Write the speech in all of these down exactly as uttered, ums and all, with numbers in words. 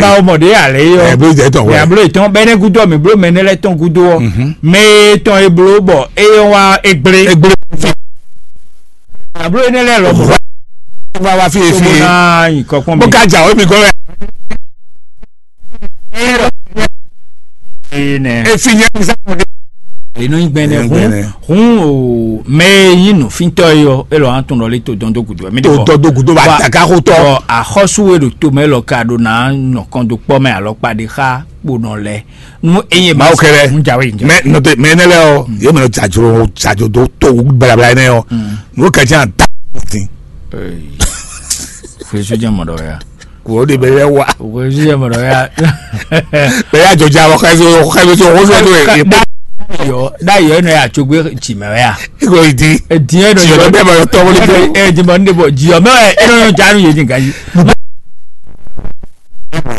Ba o mɔ ɖe alɛ yi ɔ. Ɛ blo jɛ tɔn wɛ. Mɛ ablo etɔn bɛ ne gudo mi blo mɛ ne lɛ tɔn gudo ɔ. Mɛ etɔn e blo bɔ e yɔ wa e gble. Egble. Ablo ne lɛ lɔ bɔ. Wa wa fi efi. Sobo na yi kɔkɔn mi. Bó ka jà o mi gɔn wɛ. Ee nɛ. Efi nyɛ mi sábà. Enɔ nyi gbɛnɛ Enɔ nyi hun gbɛnɛ. Hun o mɛ yi nufintɔ yi ɔ elɔ an tun lɔ le to dɔn do gudo mi de To bɔ. Dɔn do gudo ba Wa- daga ko tɔ. Bɔ axɔsu e ɖo to mɛ lɔ ka ɖo na nɔ kɔn do kpɔ mɛ alɔkpa ɖe xa kponɔ lɛ nu eye ma Mawu kɛlɛ. N jawe n jawe. Mɛ nɔte mɛ ne lɛ ɔ yɛ mɛ jajro jajro do to balabala ne ɔ. N'o ka jan da. Fue su jɛ mɔdɔ ya. Kò ó de bɛ yɛ wa. Fue su jɛ mɔdɔ ya. Bɛ yà jọjà wọ xɛ so xɛ so xɔ so do yẹ. Yɔ da yɔ enɔ ya tsogbe tsi mɛ ya. Iko yi di. Edi enɔ Tsi yɔ yɔ bɛ ma yɔ tɔ wọlé ko. Edi ma ne bɔ dzi yɔ mɛ enɔ yɔ dza nu yɛ di nka yi.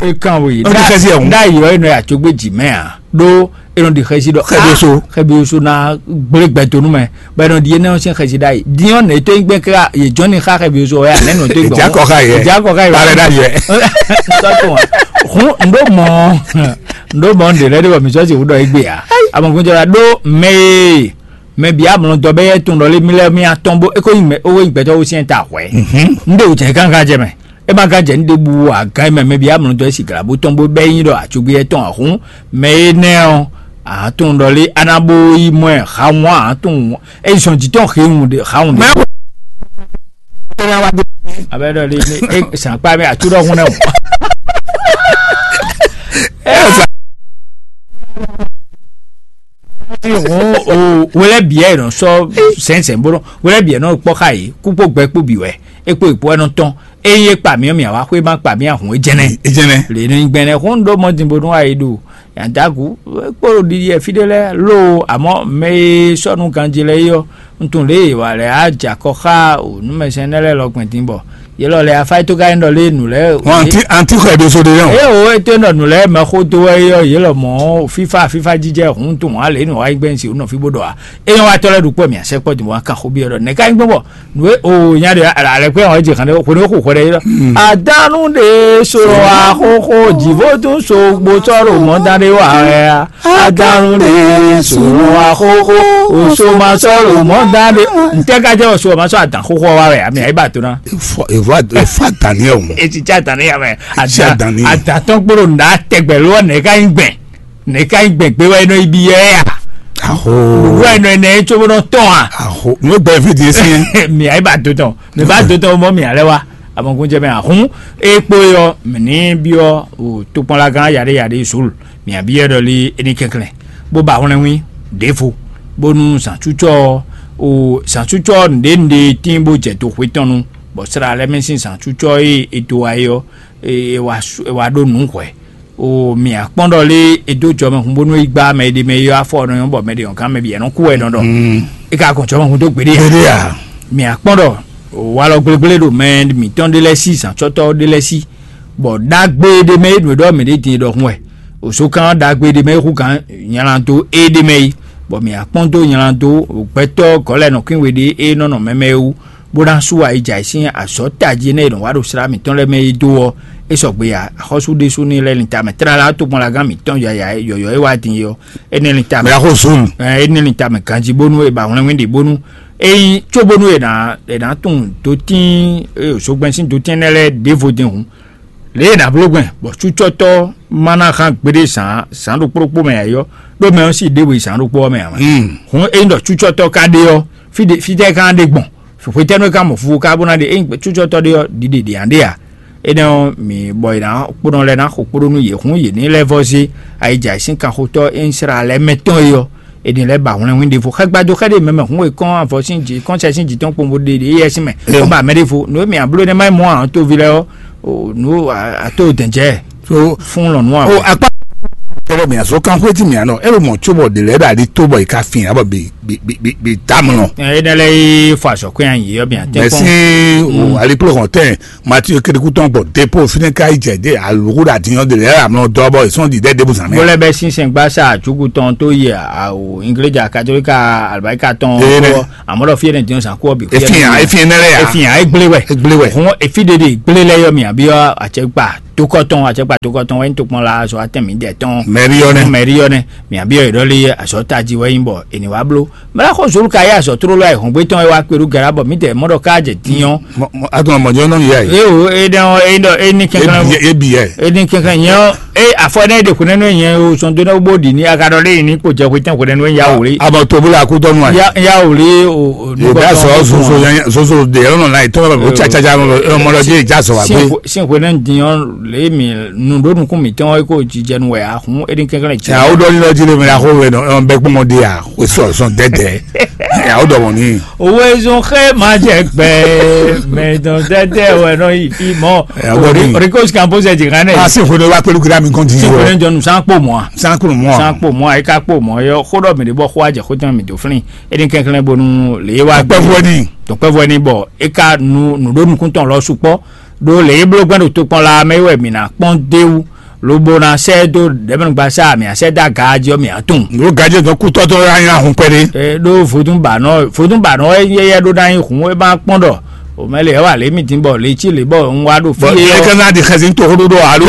E kan wo yi. Ó di xɛsi ẹ̀ hùn. Da yɔ enɔ ya tsogbe dzi mɛ a. Ɖó enɔ ɖi xɛsi ɖɔ Xɛbi oso. Xɛbi oso na gblé gbɛtonu mɛ. Bɔ enɔ ɖi enɔ sin xɛsi da yi. Diɔ ne to gbɛ kra ye jɔni xa xɛbi oso ya ne nɔ to gbɛ. Ìjà kɔ xa yɛ. Ìjà kɔ xa yɛ. Bàrẹ̀ dá yɛ. Sɔtɔ hun ndo mɔ ndo mɔ nde lɛ de bɔ mi sɔ si wudɔ egbe ya. Amɔkunjɔ la ɖo mɛ ye mɛ bi amlɔ dɔ bɛ yɛ tun dɔ le mi lɛ mi atɔn bo eko yin mɛ owo yin gbɛtɔ wo siɛn ta hwɛ. Nde o jɛ kankan jɛ mɛ. E ma gán jɛ ní ɖěbǔ agán e mɛ mɛ bia mlɔ dɔ e siglǎ bó tɔn bó bɛ́ nyi ɖɔ acugbí etɔn ahún mɛ énɛ́ ɔ́, a tunwun ɖɔ lé a ná bó yi mɔ ɛ xawun a tunwun e zɔn jǐ tɔn xewun ɖe xawun ɖe. Abɛ ɖɔ lé ne e sàn kpa mɛ atu ɖɔ hun nɛ o. Hɔn o wele biɛ nɔ sɔ sɛnsɛn bolo wele biɛ nɔ kpɔ xa yi kú kpó gbɛ kpó bi wɛ e kpó ìpó ɛnɔ tɔn eye kpa mi mi awa xwé ma kpa mi ahun ejɛnɛ Ejɛnɛ. Le nɔ gbɛnɛ xɔn ɖo mɔ din bonu ayi ɖo yandagu kpó ɖiɖi ɛfi ɖe lɛ lo amɔ mɛ e sɔnu ganji lɛ yɔ ntun le wa lɛ a ja kɔ xa o numɛsɛn ne lɛ lɔ gbɛn din bɔ yelɔ lɛ afa to ka yin dɔ le nu lɛ Wọn anti anti xɔ ɛdi so de yẹn o. E o e to nɔ nu lɛ mɛ xo do wɛ yɔ yelɔ mɔ fifa fifa jijɛ hun tun wa le nu wa yi gbɛn si o nɔ fi bo dɔ wa e yɔ wa tɔ lɛ ɖu kpɔ mi asɛ kpɔ din wa kan xo bi yɔ dɔ ne ka yin gbɔ bɔ nu e o nya de alɛ kpɛ wa je kan de ko ne ko xɔ de yelɔ adanu de so wa xo xo jivo tun so gbo tɔ ro mɔ dan de wa ya adanu de so wa xo xo o so ma sɔ ro mɔ dan de ntɛ ka jɛ o so ma sɔ adan xo xo wa wɛ ami ayi ba to na. Efɔ efɔ efɔ adani ɛ o. Etsi tsi adani ya mɛ Etsi adani. Adatɔn kpolo nda tɛgbɛ lɔ ne ka yin gbɛn ne ka yin gbɛn gbe wɛ nɔ ibi yɛ ya Aho. Wɛ nɔ ne tso bɔ nɔ tɔn a Aho. Mo gbɛ fi di esi. Mi ayi ba do tɔn mi ba do tɔn mɔ mi alɛ wa amɔkun jɛ mɛ ahun ekpo yɔ mi ni bi yɔ o tokpɔnla gan yaɖe yaɖe zulu mi abi yɛ dɔ li eni kɛnklɛn bó ba hwlɛnwin ɖevo bónú zǎncucɔ o zǎncucɔ nɖe nɖe tín bó jɛ do xwé tɔn nu bɔ sra lɛ́ mɛ sín zǎncucɔ e e do wá é ɔ́ e e wá su- e wá ɖó nǔ hwɛ̌ o mì akpɔ́n ɖɔ lé e dó jɔ mɛ hun bónú é gbá mɛ e ɖe mɛ e yɔ afɔ ɔ́ nɔ nyɔ́ bɔ mɛ ɖě ɔ́ gán mɛ bǐ ɛnɔ kú wɛ nɔ ɖɔ é ka gɔn jɔ mɛ hun dó gbeɖé ǎ. Gbeɖé ǎ. Mì akpɔ́n ɖɔ walɔ gblégblé ɖo mɛ mǐtɔn ɖé lɛ́ɛ sí zǎncɔ́tɔ́ ɖé lɛ́ɛ sí bɔ ɖagbe ɖé mɛ é nǔ e ɖɔ mǐ ɖe din é ɖɔhun wɛ. Òzokán ɖagbe ɖé mɛ é hú gǎn nylado é ɖé mɛ é, bɔ mǐ akpɔ́n dó nylado gbɛtɔ́ gɔ̌lɛnɔkwín we ɖé é nɔ nɔ mɛmɛ é wú, bó ná sú ayi jɛ ayǐ sín azɔ̌ tají énɛ́ e nɔ wa ɖo slá mǐtɔn lɛ́ɛ mɛ é dó ɔ́, é sɔgbe ǎ. Axɔ́sú ɖésú ní lɛ́ lin tamɛ tlala tɔgbanlagán mǐtɔn yɔ̌yɔ́ é wá din é ɔ́, énɛ́ lin tamɛ. Mɛ axó zun. Ɛ, énɛ́ lin tamɛ ganjí bónú è ba hwlɛ́nwín ɖě bónú ényí cóbónú è nǎ è nǎ tunwun dotín e zogbɛ́n sín dotín énɛ́ lɛ́ɛ ɖěvo din hǔn. Lě e è nǎ bló gbɛn bɔ cúcɔ́tɔ́ ma ná hán gbeɖé zǎn zǎn ɖokpó ɖokpó mɛ ǎ é ɔ́, ɖó mɛ ɔ́ sí ɖěwe zǎn ɖokpó ɔ́ mɛ ǎ mɛ. Hǔn ényí ɖɔ cúcɔ́tɔ́ ka ɖe ɔ́, fí ɖe fítɛ́ ka ná ɖe gbɔn? Hwetɛ́nu e ka mɔ fífó ka bó ná ɖe ényí cúcɔ́tɔ́ ɖe ɔ́, ɖiɖe ɖě ǎ ɖe ǎ. Énɛ́ ɔ́, mǐ bɔ è nǎ kpónɔ lɛ́ɛ ná xo kpóɖó nú yě hǔn yě ní lɛ́ vɔ́ zé ayijǎ sín kanxotɔ́ e nyí Slǎlɛ́mɛtɔn é ɔ́, è nǐ lɛ́ ba hwlɛnhwín ɖěvo xɛgbado xɛ ɖé mɛ mɛ hǔn e kɔn avɔ sín jǐ kɔn sɛ sín jǐ tɔn kpowun bó ɖe ɖě yɛ sín mɛ bó ba mɛ ɖěvo nǔ e mǐ abló énɛ́ má yi mɔ ǎ toví lɛ́ɛ ɔ́, nǔ ato dɛ̌njɛ́ fún lɔ̌nú ǎ. O akpá kɛlɛ mǐ azɔ kan xwéjì mǐ anɔ é ɖo mɔ̌ cóbɔ ɖě lɛ́ɛ ɖo aɖi tó bɔ è ka fin ǎ bɔ bǐ bǐ bǐ bǐ tamlɔ. Énɛ́ lɛ́ɛ yi fɔ azɔ̌ kɔn nyi yɔ mǐ atɛ́ Mɛsí kpɔn. O alikplo hɔn tɛn Matiu kéɖékú tɔn gbɔ depo fínɛ́ ká yi jɛ dé alǔkú ɖo adǐnyɔ́ ɖě lɛ́ɛ amlɔ dɔ bɔ è sɔ́n ɖi ɖɛ ɖěbǔ zǎn mɛ. Bó lɛ́ bɛ́ sínsɛn gbásá àjúkú tɔn tó yɛ àwò ingléja katolíka àlùbáríkà tɔn Ee, nɛ. Kú ɔ́, àmọ́ ɖɔ fí ɛnɛ dín zǎn kú ɔ́ bǐ fí Efin ya, efin ɛnɛ lɛ ya. Efin ya, egblé wɛ. Egblé wɛ. Hɔn efi ɖe ɖe gblé lɛ yɔ mì àbí ɔ́ àtsɛ gba Tokɔ tɔn, acɛkpa tokɔ tɔn wɛ nyí tokpɔnla azɔ̌ atɛn mǐdɛɛ tɔn. Mɛ̌ri ɔ́ nɛ́. Mɛ̌ri ɔ́ nɛ́. Mǐ abíyɔ yě ɖɔ lé azɔ̌ tají wɛ nyí bɔ è nǐ wá bló. Mɛ ɖaxó Zolukayási ɔ́ tló lɔ ayǐhɔ́ngbe tɔn e wá kpe ɖó Galabɔ mǐdɛɛ mɔ ɖɔ ká jɛ din ɔ́. Atɔn mɔjɔ nɔ yɛ. Eo e ɖe ɔ e ɖɔ e ní kɛnkan. Ebi yɛ. E ní kɛnkan nyɛ ɔ́ e afɔ ne ɖe xunɛ nɔ nyɛ o sɔn do ne bó ɖi ní aga ɖɔ lé ní kpo jɛ xwe tɛn xunɛ nɔ ya wòlé. Abɔ to bó la kú tɔnu a. Ya wòlé o. Yóò bá sɔ soso soso de yɔrɔ nɔ la yi tɔn bɛ o tsatsa mɔ lɔ dzi ja sɔ wa gbé. Sin xwe ne din ɔ́ lé mi nu ɖó nukún mǐtɔn ɔ́ kó jijɛ nu wɛ a hun e ní kɛnkan. Cɛ awo ɖɔ ní lɔ jí lé mi la xó wɛ nɔ bɛ kpɔmɔ de a. Wesɔ sɔn dɛdɛ. Awo dɔ mɔ ni. Owezun xe ma jɛ gbɛ mɛ dɔn dɛdɛ wɛ nɔ yi fi mɔ. Ori ko si kan bó sɛ jigin ne. A si xwedɔ wa pẹ̀lú kira mi kɔn ti. Si xwedɔ jɔ nu san kpó mɔ. San kpó mɔ. San kpó mɔ ayi ka kpó mɔ yɔ xó dɔ mi de bɔ xó a jɛ xó tɛn mi do flin. E ni kɛnklɛn bonu le wa. Tɔkpɛvɔ ni. Tɔkpɛvɔ ni bɔ e ka nu nu ɖo nukun tɔn lɔ sukpɔ. Ɖó lě e bló gbɛ́ ɖo tokpɔn la mɛ é wɛ mǐ ná kpɔ́n d'é wú, lobo ná sɛ́ dó ɖɛ̌mɛnugbasá mǐ ná sɛ́ dó aga jí ɔ́ mǐ ná tunwun. Ɖó gajé dɔn kútɔ́ tɔn wɛ ná nyí ahun kpɛɖé. Ɖó vodúnbanɔ vodúnbanɔ wɛ nyí éyɛ́ ɖó ná nyí hǔn é ma kpɔ́n ɖɔ o mɛ lě wɛ wà lě mì dín bɔ lě cí lě bɔ un wá ɖo fí. Bɔ é ká ná ɖi xɛsi toxóɖó ɖɔ alo.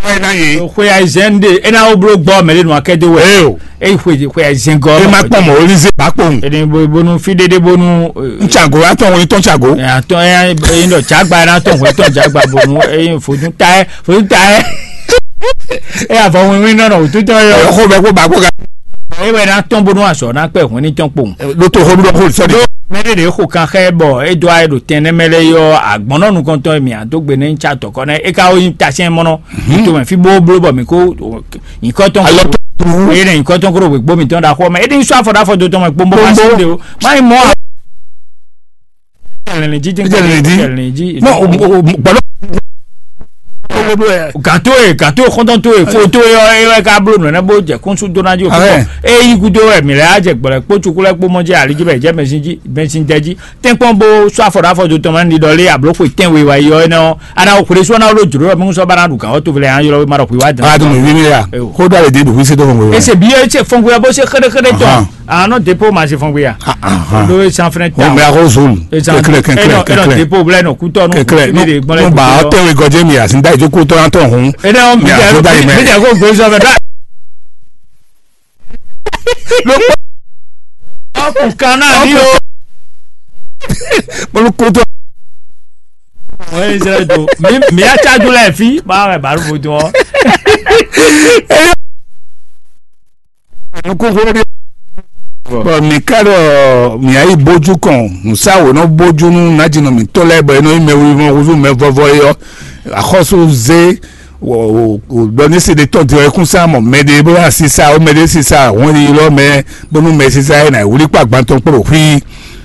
Xwe ayizɛn ɖe é ná wó bló gbɔ mɛ ɖé nɔ akɛ dó wɛ. Eo. Eyi xwe xwe zɛngɔ. E ma kpɔn mɔ olize ba kpɔn. Eni bo bonu fi ɖeɖe bonu. Ntsago atɔn wɔ itɔn tsago. Atɔn eyi ɖɔ tsagba yɛ atɔn wɔ itɔn tsagba bonu eyi fodun ta yɛ fodun ta yɛ. E avɔ wínwín nɔ nɔ wòtútɔ yɔ. Xɔ bɛ kó ba kó ga. E wɛ na tɔn bonu azɔ na kpɛ hun ni tɔn kpɔn. Ɖo to xɔ ɖuɖɔ xɔ sɔ de. Mɛ ɖe ɖe xo kan xɛ bɔ e do ayɛ ɖo tɛn nɛ mɛ lɛ yɔ agbɔnɔ nukɔntɔn mi a do gbe ne ntsa tɔkɔ nɛ e ka wo yin tasɛn mɔnɔ. To mɛ fi bo blo bɔ mi ko. Nyikɔtɔn koro. Eye ne nyikɔtɔn koro wegbo mitɔn ɖo axɔ mɛ. Edi sɔ afɔ ɖo afɔ do tɔn mɛ kpombo ma si de o. Ma yi mɔ. Jɛlɛni ji jɛlɛni ji. Mɔ gbɔdɔ. Gato ye gato ye xɔntɔn to ye fo to ye ɔ eye ka blo nɔ ne bo jɛ kɔnsu dona ji o. Eyi gudo wɛ mi lɛ a jɛ gbɔlɛ kpo tsuku lɛ kpo mɔ jɛ ali ji bɛ jɛ mɛsin ji mɛsin jɛ ji. Tɛ́nkpɔ́n bó sɔ́ afɔ ɖó afɔ dó tɔn mɛ ní ɖɔ lé abló xwe tɛ́nwe wá yi ɔ́ énɛ́ ɔ́, a ná xwlé sú ɔ́ ná wló jlǒ ɔ́ mɛ sɔ́ bá ná ɖu gǎn ɔ́ tóvelɛ nya ylɔ́ wé má ɖɔ xwe wá dán. A dun mi mi ya. Ko dɔ le di ɖu xwisi tó fɔn. Ese bi ɔ́ tse fɔngbé ɔ́ bó se xéɖéxéɖé tɔn. Ahan. A nɔ depo ma se fɔngbé ya. Ahan. Ɖó e sanfɛnɛ ta. Mo mɛ akɔ zone. Kɛkɛlɛ kɛkɛlɛ kɛkɛlɛ. Depo blɛ nɔ kutɔ nɔ. Kɛkɛlɛ kutɔ nɔ. Mo ba ɔtɛ we gɔdze mi asi da ijo ko tɔ na tɔ hun. Ene ɔn mi jẹ ko gbé sɔfɛ dɔ. Ló pọ̀. Ọkùn kan náà ní o. Olùkótó. Wọ́n yé sẹ́yìn tó. Mi mi á ṣáájú lẹ̀ fi. Báwo ẹ̀ bá rúfo tó ọ́? Kókó dé. Bɔn mi ká ɖɔ mi ayi bójú kɔn musawo nɔ bójú nú nájínɔ mǐtɔn lɛ́ɛ bɔ é nɔ nyí mɛ wiwi mɔ húzú mɛ vɔvɔ é ɔ́, axɔ́sú zé. Wɔ o o dɔ ní se ɖe tɔn din ɔ ekún sá mɔ mɛ ɖe bó wá sisa o mɛ ɖe sisa hɔn yi lɔ mɛ bónú mɛ sisa yɛ na wuli kpa gbantɔn kpó ɖo xwí.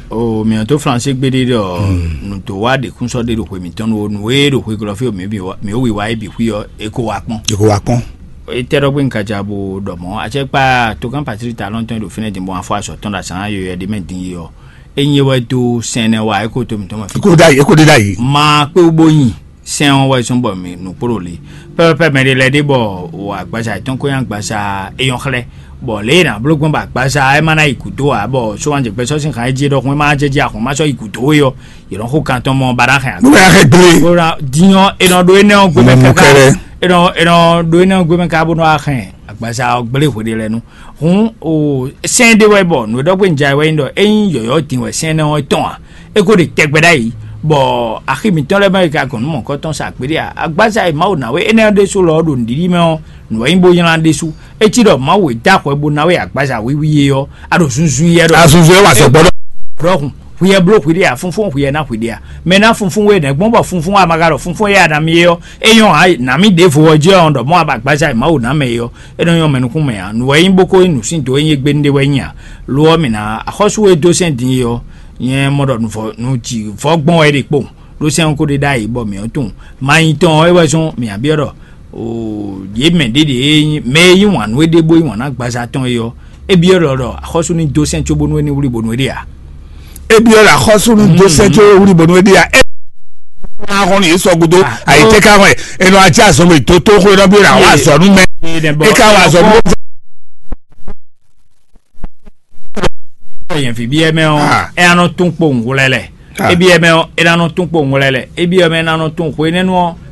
O mìɔ tó Flansé gbéɖé ɖɔ nǔ tó wá ɖe kún sɔ́ ɖé ɖo xwe mǐtɔn nu o nǔ e ɖo xwe glɔ́ fí o mǐ bǐ wá- mǐ wí wá é bǐ xwí ɔ é kó wá kpɔ́n. Joko wa kpɔn. Etɛ́ ɖɔgbé un ka ja bo ɖɔ mɔ̌ acɛkpa togán Patrík ta lɔntɔn ɖo fínɛ́ din bɔ afɔ azɔ̌ tɔn ɖo azǎn yɔyɔ ɖé mɛ din yi ɔ. Ényí é wɛ dó sɛn nɛ wá é kó to mǐtɔn mɛ fí. Eko da yi eko de da yi. Ma kpé wú bó nyi sɛn ɔ́ wɛ zɔ́n bɔ mi nǔ kpó ɖo le pɛpɛpɛ mɛ ɖé lɛ́ɛ ɖé bɔ wò agbaza yětɔn ko nyí agbaza éyɔ́ xlɛ́ bɔ lě e nǎ bló gbɔn bɔ agbaza ɛ má ná yi gǔdo ǎ bɔ sówanjɛgbɛ́ sɔ́ sín han é jí é ɖɔhun é má jɛ jí ahɔn má sɔ́ yi gǔdo é ɔ́ yě nɔ xó kan tɔn mɔ ba ná hɛn. Nú bɛ axɛ gblé. Bó ná dín ɔ́ é nɔ ɖó énɛ́ ɔ́ gbé mɛ Mɔ mɔ káká kɛlɛ. É nɔ é nɔ ɖó énɛ́ ɔ́ gbé mɛ káká bó nɔ wá hɛn agbaza ɔ́ gblé hwe ɖé lɛ́ɛ nu. Hǔn o sɛ́n ɖé wɛ bɔ nǔ e ɖɔ gbé un ja wɛ nyí ɖɔ ényí yɔ̌yɔ́ din wɛ sɛ́n énɛ́ ɔ́ tɔn ǎ, é ko ɖe tɛgbɛ ɖ'ayǐ, bɔ axi mǐtɔn lɛ́ɛ mɛ e ka gɔn nú mɔ̌hunkɔtɔn sa gbeɖé ǎ. Agbaza e Mawu ná we énɛ́ ɔ́ ɖésú lɔ ɔ́ ɖo nǔɖiɖi mɛ ɔ́, nǔ wɛ nyí bó nylá ɖésú. É cí ɖɔ Mawu e dó axɔ bó ná we agbaza wiwi é ɔ́, a ɖo zunzun yɛ ɖɔ. Azunzun e wa sɔgbɔ ɖɔ. Ɖɔhun, hwi yɛ bló hwi ɖe a, fúnfún hwi yɛ ná hwi ɖe a? Mɛ ná fúnfún we nɛ̌ gbɔn bɔ fúnfún a ma ka ɖɔ fúnfún e a nǎ mì é ɔ́, é nyɔ́ ǎ, nǎ mì ɖěvo ɔ́ jɛ ɔ́ ɖɔ mɔ̌ a ba agbaza e Mawu ná mɛ é ɔ́, é nɔ nyɔ́ mɛ nukún mɛ ǎ. Nǔ wɛ nyí bó ko nyí nǔ sín dǒ e nyí égbé ɖé wɛ nyí ǎ. Lo ɔ́, mǐ ná axɔ́sú e dó sɛ́n din é ɔ́, nyɛ mɔ ɖɔ nǔvɔ nǔ jǐ vɔ́ gbɔn wɛ é ɖe kpowun, ɖó sɛ́n ɔ́ ko ɖe ɖ'ayǐ bɔ mǐ ɔ́ tunwun. Ma nyi tɔn ɔ́, é wɛ zɔ́n mǐ ná byɔ́ ɖɔ o yě mɛ ɖě ɖě e nyí mɛ e yí wǎn nú é ɖé bó yí wǎn nú agbaza tɔn é ɔ́, é byɔ́ ɖɔ ɖɔ axɔ́sú ní dó sɛ́n cóbónú é ní wlí bónú é ɖe ǎ. É byɔ́ ɖɔ axɔ́sú ní dó sɛ́n cóbónú é wlí bónú é ɖe ǎ. É ná hɔn ní yě sɔ gúdo. Ayǐtéka hɔn ɛ é nɔ ajá azɔn mɛ tó tó xó é nɔ byɔ́ ɖɔ àwọn azɔ̌ nú mɛ. É ká wà azɔ̌ nú. Yɛn fi byɔ́ mɛ ɔ́, é nɔ tún kpo ŋgwlɛ lɛ. É byɔ́ mɛ ɔ́, é ná nɔ tún kpo ŋgwlɛ lɛ. É byɔ́ mɛ é ná nɔ tún xwe énɛ́ nu ɔ́,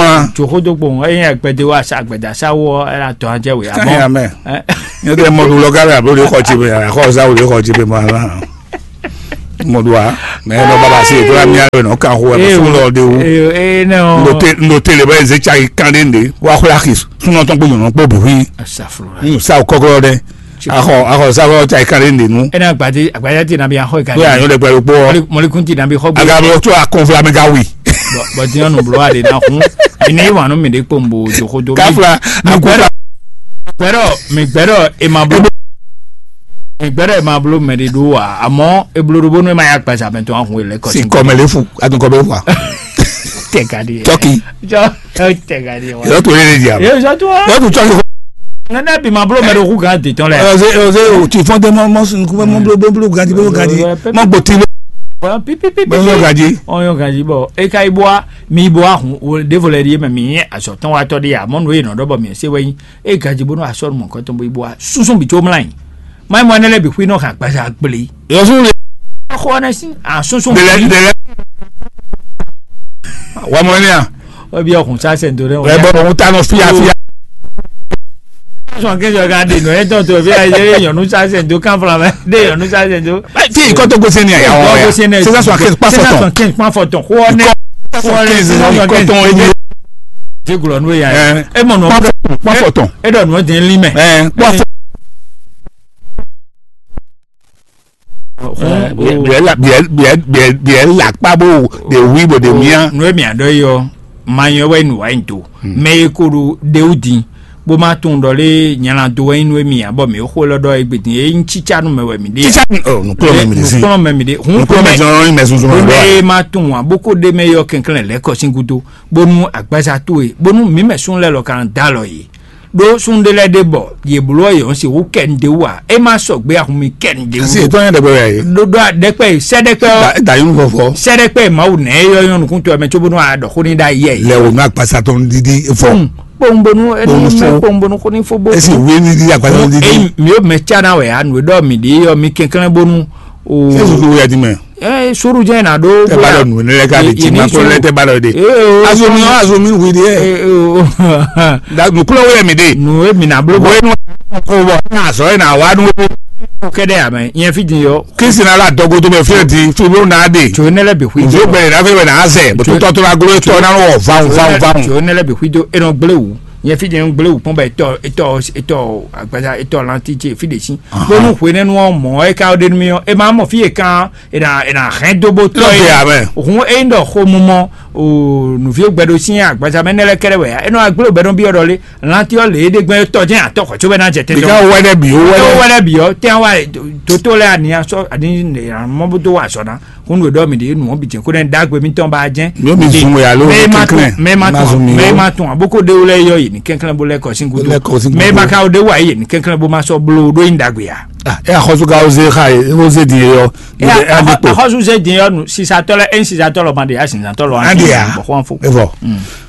mɔ a? Tso xó dó gbɔn eye agbɛdɛ wa sa agbɛdɛ sa wɔ ɛna tɔn adze wɛ Kan ya amɔ. mɛ. Nyɛ tɛ mɔ ɖo lɔga la blo le xɔ tsi be ya xɔ za wo le xɔ tsi be ma la. Mɔ ɖo a, mɛ nɔ baba se to la mi alɔ nɔ kan xo ɛ fún lɔ de wo. Ee, ee, nɔ. Ndote ndote le bɛ ze tsa yi kan de nde wa xɔ la xi sunɔ tɔn kpo nyɔnɔ kpo bi hui. Asafura. Nu sa o kɔkɔ dɛ. Axɔ axɔ sa o tsa yi kan de nde nu. Ena agbadé agbadé ti na bi axɔ yi kan. Ko ya nyɔ de pɛlu kpɔ. Mɔlikun ti na bi xɔ gbe. Aga bɛ to akɔnfla mi ka wi. Bɔn ti nyɔnu blo a de na hun. Mi ni wa nu mi de kpombo joxodo. Kafla. Agbɛrɛ. Gbɛrɛ mi gbɛrɛ e ma blo. Gbɛɖɛ ma bló mɛ ɖé ɖó ǎ, amɔ̌ è bló ɖó bónú é ma yá gbaza mɛ tɔn ahun e lɛ́ kɔ. Si kɔmɛ lé fu, a tún kɔmɛ fu a. Tɛgani. Tɔki. Jɔ tɛgani wa. Yɔrɔ tó lé lé di a. Yóò sɔ tó wa. Yɔrɔ tó tɔki. Nana bi ma bló mɛ ɖó hu gan de tɔn lɛ. Ɔze ɔze o ti fɔn tɛ mɔ mɔ sun kú mɔ bló bló bló ganji bló ganji mɔ gbòtí lé. Pipipipi. Mɔ ganji. Ɔyɔ ganji bɔ e ka yi bɔ a mi bɔ a hun o devo lɛ di e mɛ mi nyɛ azɔ tɔn wa tɔ di a mɔ nu e nɔ ɖɔ bɔ mi se wɛ nyi. E gaji bónú asɔ́ mɔ̌kɔtɔn bó yi bó wá súnsún bǐ có mlá nyi. Má nyí mɔ énɛ́ lɛ́ɛ bǐ xwí nɔ hɛn agbaza gblé. Yɔsú le. Xɔ ɔ́ nɛ́ sín asúnsún bǐ. Délɛ délɛ. Wà mɔ ní à. Wọ́n bí ọkùn sá sẹ̀ ntòrẹ́ wọn. Ẹ bọ́ ọ̀hún tá nọ fíafíá. Sọ̀n kí sọ̀rọ̀ ká dènà ẹ̀ tọ̀ tó fi àyè yọ̀nù sá sẹ̀ ntò kán fúnra mẹ́ dé yọ̀nù sá sẹ̀ ntò. Tí ìkọ́ tó gbèsè ní àyà wọn yà. Six cent soixante-quinze, pas fort. Six cent soixante-quinze, pas fort. Xɔ ɔ́ nɛ́. Six cent soixante-quinze, ìkọ́ tó ń yé. Jégulɔ n'o yà yɛ. Ɛ, e mɔ nɔ kpɔn fɔ tɔn. E dɔ nɔ den li mɛ. Ɛ, kpɔn fɔ. Biɛ la biɛ biɛ biɛ biɛ la kpa bo de wi bo de mia. Nɔ mi adɔ yi ɔ, ma nyɔ wɛ nu wa yi do. Mɛ ye ko do de wu din. Bo ma tun dɔ le nyala do wɛ nu mi abɔ mi xo lɔ dɔ egbe din e yin cica nu mɛ wɛ mi de. Cica nu ɔ nukplɔ mɛ mi de si. Nukplɔ mɛ mi de. Hun nukplɔ mɛ jɔn yin mɛ sunsun ma do. Mɛ ma tun wa bo ko de mɛ yɔ kɛnklɛn lɛ kɔ sin gudo. Bónú agbaza towe bónú mǐ mɛ súnnu lɛ́ɛ lɔ ka ná dó alɔ yě. Ɖó súnnu ɖé lɛ́ɛ ɖe bɔ yě bló ɔ́ yě nɔ́ sixú kɛ nu d'é wú ǎ. É má sɔgbe ahun mi kɛ nu d'é wú. Asi ètò yẹn dɛgbɛ wɛ yìí. Ɖó ɖó dɛkpɛ sɛ dɛkpɛ ɔ́. Da yín vɔvɔ. Sɛ dɛkpɛ Mawu nɛ é yɔ yɔn nukún tɔn mɛ cóbónú a ɖɔ xó ní ɖ'ayǐ yɛ yìí. Lɛ wò nú agbaza tɔn dídí fɔ. Kpowungbonu Kpowun ní fo. Kpowungbonu xó ní fó bó. Esi wé ní dídí agbaza tɔn dídí. Eyi mi yóò mɛ cá ná wɛ a nǔ e ɖɔ mi ɖe yɔ mi kɛnklɛ́n bónú. O. Sɛ susu wɛ di mɛ. Ɛ suru jɛ na ɖo. Tɛ ba lɔ nu ne lɛ ka de ti ma ko lɛ tɛ ba lɔ de. Azomi azomi wi de. Da nuklo wɛ mi de. Nu e mi na blo bɔ. Wenu ko bɔ na sɔ na wa nu. Kɛdɛ amɛ yɛn fi di yɔ. Kristi na la dɔgo to bɛ fi di fi bo na de. Tso ne lɛ bi hui. Nzo bɛ na fe bɛ na azɛ bɛ to tɔ to la glo tɔ na wɔ van van van. Tso ne lɛ bi hui do enɔ gble wu. Yɛn fi di gble wu kpɔn bɛ etɔ etɔ etɔ agbaza etɔ lanti ce fi de si. Bonu hwenɛnu ɔ mɔ ɛ ka de nu mi ɔ e ma mɔ fi e kan e na e na hɛn do bo tɔ Lɔbe ye. Amen. Hun e yin dɔ xomumɔ o nuvi gbɛ do sin agbaza mɛ ne lɛ kɛrɛ wɛ ya e nɔ agble bɛ nɔ bi ɔ dɔ le lanti ɔ le e de gbɛ tɔ jɛ atɔ xɔ tso bɛ na jɛ tɛ Bika dɔ. Wɛlɛ bi o wɛlɛ. Wɛlɛ bi ɔ tɛ wa toto lɛ ani asɔ ani mɔ bo do wa sɔ na. Kúnú ɖɔ mi ɖe nǔ ɔ́ bǐ jɛ́n kó ɖɛ́ ɖagbe mitɔn ba jɛ́n. Yóò mi zun wɛ alo mɛ ma tún kɛnklɛ́n, mɛ ma ma tún zun mi mɛ o. Ma tún aboko ɖe wlɛ yɔ yě ní kɛnklɛ́n bó lɛ́ kɔ sín gúdo. Lɛ́ kɔ sín gúdo. Mɛ ma ka ɖe wá yě ní kɛnklɛ́n bó ma sɔ́ bló ɖó nyí ɖagbe ǎ. Ah, ɛ axɔsu ka oze xa ye oze di ye yɔ. Ɛ ɛ adi kpo. Axɔsu ze di yɔ nu sisatɔ lɛ ɛ sisatɔ lɔ ma ɖe ya sisatɔ lɔ Adi ya. Bɔ xɔn fo. Evɔ.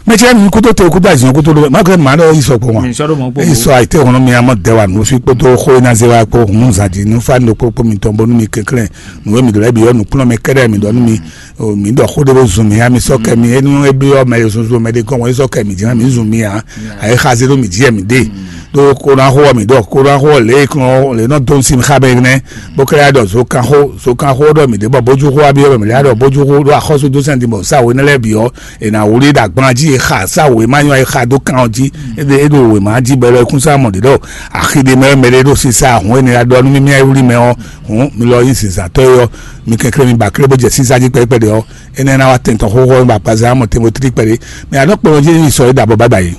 Mɛ cɛ mi kuto te kuto azin kuto do ma kɛ ma ɖe yi sɔ kpɔ ma. Mi sɔ do mɔ kpɔ. Yi sɔ ayite kɔnɔ mi ama dɛ wa nu fi kpoto xo na ze wa kpo hun zan di nu fa no kpo kpo mi tɔn bɔ nu mi kɛnklɛ́n. Nǔ e mǐ ɖó lɛ́ɛ bǐ ɔ́, nǔkplɔ́nmɛ kɛ́ɖɛ́ mǐ ɖɔ nú mi, o, mǐ ɖɔ xó ɖé bó zun mǐ ǎ, mi sɔ́ kɛ mi, é nú é byɔ́ mɛ e zunzun mɛ ɖé gɔ́n, é sɔ́ kɛ mǐ jǐ ná mǐ zun mi ǎ. Ayǐ xazé ɖó mǐ jí wɛ mǐ ɖe. Ɖó kó ná xó ɔ́ mǐ ɖɔ kó ná xó ɔ́ lě e kún ɔ́ lě nɔ dó nú sí mì xá bɛ nɛ́, bó kɛ́ ɖɔ zǒkanxó zǒkanxó ɖɔ mǐ ɖe bɔ bójúxó wá byɔ́ mǐ lɛ́ɛ ɖɔ bójúxó ɖó axɔ́súdúsɛn din bɔ sá we nɛ́ lɛ́ɛ bǐ ɔ́, è nǎ wlí ɖo agban jí è xa sá wěma nyɔ è xa dó kan ɔ́ jí. É ɖo wěma jí bɔ é lɔ é kún sá mɔ ɖě ɖɔ axi ɖé mɛ wɛ mɛ ɖé ɖo sisa ahɔ̌n énɛ́ ɖɔ nú mì mì ayǐ wlí mɛ ɔ́. Hǔn mi lɔ nyí zǐnzǎntɔ́ e ɔ́, mi kɛnklɛ́n mi ba klé bó jɛ sísá jí kpɛɖé kpɛɖé ɔ́, énɛ́ ná wá tɛn tɔn xóxó bɔ agbaza mɔ Timɔtée kpɛɖé. Mɛ a nɔ kplɔ́n jí nyi sɔ é ɖo abɔ bábà yìí.